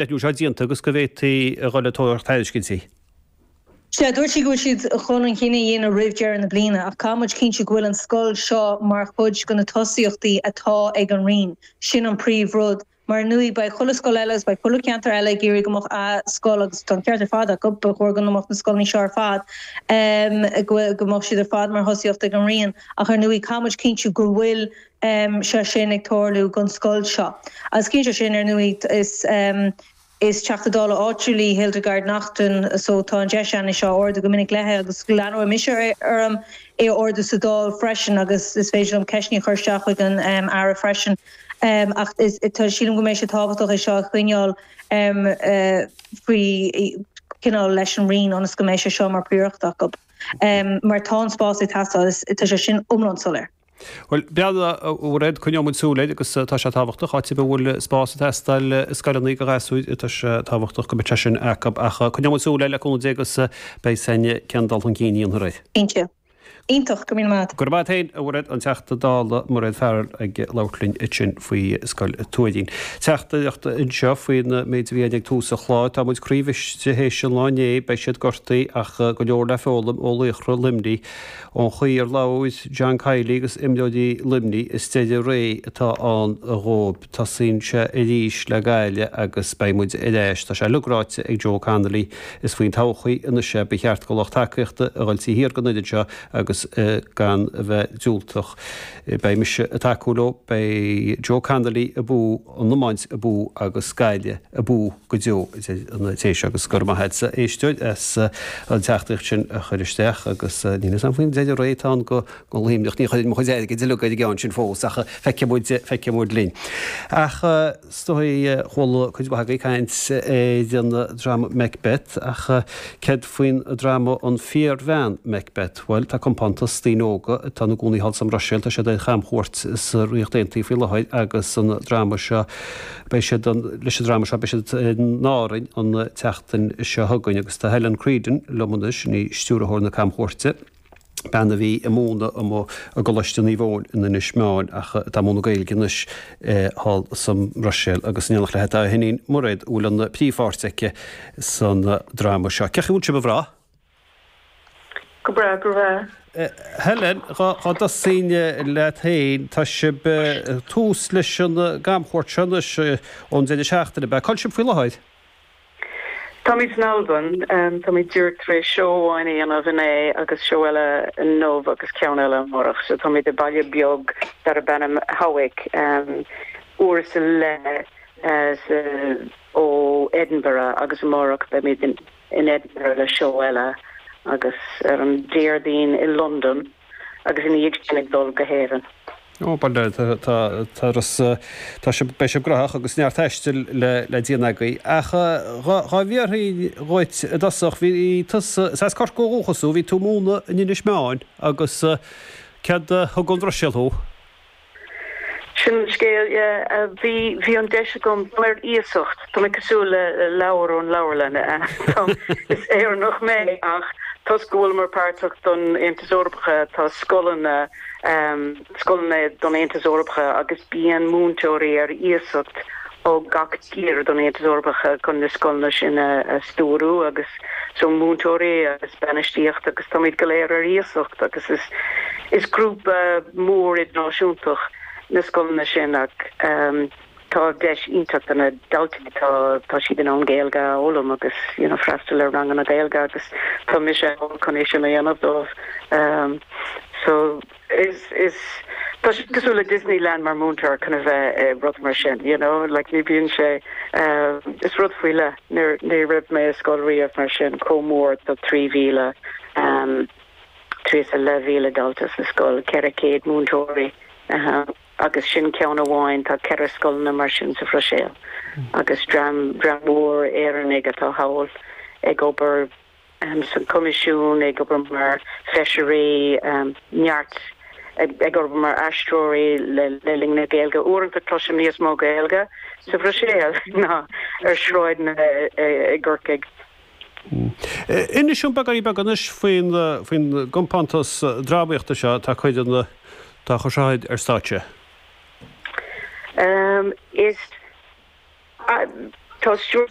Athbhreithniú seo déanta agus go bhféadfaí a dhul ag tabhairt tairiscintí. Sea, dúirt sí go bhfuil siad chun an cinneadh a dhéanamh roimh deireadh na bliana, ach caithfidh muid cinntiú go bhfuil an scoil seo mar chuid de na tosaíochtaí atá ag an Roinn. Sin an príomh rud. Mar ar ndóigh beidh chuile scoil eile agus beidh chuile cheantar eile ag iarraidh go mbeadh a scoil agus tá an ceart ar fad acu, ba chóir go mbeadh na scoileanna seo ar fad, go mbeadh siad ar fad mar thosaíocht ag an Roinn. Ach ar ndóigh caithfidh muid cinntiú go bhfuil sé sin ag tarlú don scoil seo. Agus cinnte sin, ar ndóigh, is is Teachta Dála áitiúil í Hildegarde Naughton so tá an deis againn é seo a ardú go minic léi agus leanfaidh mise orm é a ardú sa Dáil freisin agus is féidir liom ceisteanna a chur isteach chuig an Aire freisin. Ach is tá sílim go mbeidh sé tábhachtach é seo a choinneáil faoi cineál leis an Roinn ionas go mbeidh sé seo mar phríoracht acu. Mar tá an spás ag teastáil, tá sé sin iomlán soiléir. Bhuel, b'fhéidir, a Mhairéad, coinneoidh muid súil air agus tá sé tábhachtach, áit ar bith a bhfuil spás ag teastáil i scoileanna do ghasúir, tá sé tábhachtach go mbeadh sé sin acu. Ach coinneoidh muid súil air le cúnamh Dé agus beidh a fhios againn cén dul chun cinn a dhéanfar air. Cinnte. Iontach, go raibh míle maith agat. Go raibh maith agat féin, a Mhairéad, an Teachta Dála Mairéad Farrell ag labhairt linn ansin faoi Scoil Tuairín. Teachtaireacht anseo faoin méid a bhí againn ag tús an chláir. Tá muid croíbhriste théis an lá inné, beidh siad gortaithe ach go leor le foghlaim ó laochra Luimnigh. Ón chaoi ar labhair John Kiely agus imreoirí Luimnigh, is deireadh ré atá ann dhóibh. Tosaíonn sé arís le Gaillimh agus beidh muid ar ais. Tá sé uilig ráite ag Joe Connolly. Is faoin todhchaí anois é. Ba cheart do lucht tacaíochta a dhul taobh thiar den fhoireann seo agus gan a bheith diúltach. Beidh mise ag tacú leo. Beidh Joe Connolly abú, an iomáint abú agus Gaillimh abú go deo, a deir an té seo. Agus go raibh maith agatsa, a éisteoir, as an teachtaireacht sin a chur isteach. Agus níl fhios agam faoin deireadh ré atá ann do Luimneach. Ní chuirfinn mo chuid airgid uilig ar an gceann sin fós, ach feicfidh muid, feicfidh muid linn. Ach is dóigh, chuala cuid mhaith agaibh caint ar an dráma Macbeth, ach céard faoin dráma An Fíorbhean Macbeth? Bhuel, tá compántas daoine óga atá ina gcónaí thall sa mBruiséil, tá siad ar chamchuairt sa Ríocht Aontaithe faoi láthair agus an dráma seo, beidh siad, leis an dráma seo, beidh siad in Árainn an tseachtain seo chugainn agus tá Helen Creedon liom anois, í stiúrthóir na camchuairte. bean a bhí ag múineadh amuigh i gColáiste Naomh Eoin in Inis Meáin ach atá ag múineadh Gaeilge anois thall sa mBruiséil agus in éineacht léi tá a hiníon Mairéad a bhfuil an príomhpháirt aici san dráma seo. Cén chaoi a bhfuil sibh a mhná? Go breá, go raibh. Helen, dhá dtosóinn leat féin, tá sibh tús leis an gcamchuairt seo anois ón deireadh seachtaine, ab ea? Cá bhfuil sibh faoi láthair? Táimid san Albain. Táimid díreach tar éis seó amháin a dhéanamh inné agus seó eile inniu agus ceann eile amárach. So táimid i baile beag darb ainm Hawick, uair is a leith ó Edinburgh agus amárach beimid in Edinburgh le seó eile agus ar an Déardaoin i Londain. agus ina dhiaidh sin ag dul go hÉirinn. Ó, bhuel, tá, tá, tá sibh, beidh sibh gnóthach agus neart taistil le, le déanamh agaibh. Ach dhá bhfiafraínn dhuit i dtosach, bhí tusa, is as Corcaigh ó dhúchas thú, bhí tú ag múineadh in Inis Meáin agus céard a thug ón Bhruiséil thú? Sin an scéal, yeah. Bhí, bhí an deis agam, tá mé ar iasacht, tá mé cosúil le leabhar ón leabharlann. Is Éireannach mé ach toisc go bhfuileamar páirteach don Aontas Eorpach, tá scoileanna, scoileanna don Aontas Eorpach agus bíonn múinteoirí ar iasacht ó gach tír don Aontas Eorpach chun na scoileanna sin a stiúrú agus so múinteoirí agus bainistíocht agus táimid go léir ar iasacht agus is is grúpa mór idirnáisiúntach na scoileanna sin ach tá deis iontach do na daltaí tá tá siad in ann Gaeilge a fhoghlaim agus you know freastal ar ranganna Gaeilge agus tá mise ann chun é sin a dhéanamh dóibh so Is, is, tá sé cosúil le Disneyland mar múinteoir chun a bheith i rud mar sin, you know, like ní bhíonn sé, is rud faoi leith, ní, ní raibh mé i scoil riamh mar sin, chomh mór, tá 3,000, 3 is a leath mhíle dalta sa scoil, 400 múinteoirí, agus sin ceann amháin, tá ceithre scoileanna mar sin sa Bhruiséil agus dream, dream mór Éireannaigh atá thall ag obair. san Choimisiún, ag obair mar feisirí, neart ag obair mar aistritheoirí le linn na Gaeilge. Uaireanta cloisim níos mó Gaeilge sa Bhruiséil ná ar sráideanna i gCorcaigh. Inis dúinn beagáinín beag anois faoin gcompántas drámaíochta seo atá ag cur an, atá á chur seo ar stáitse. Is. Tá stiúrthóir.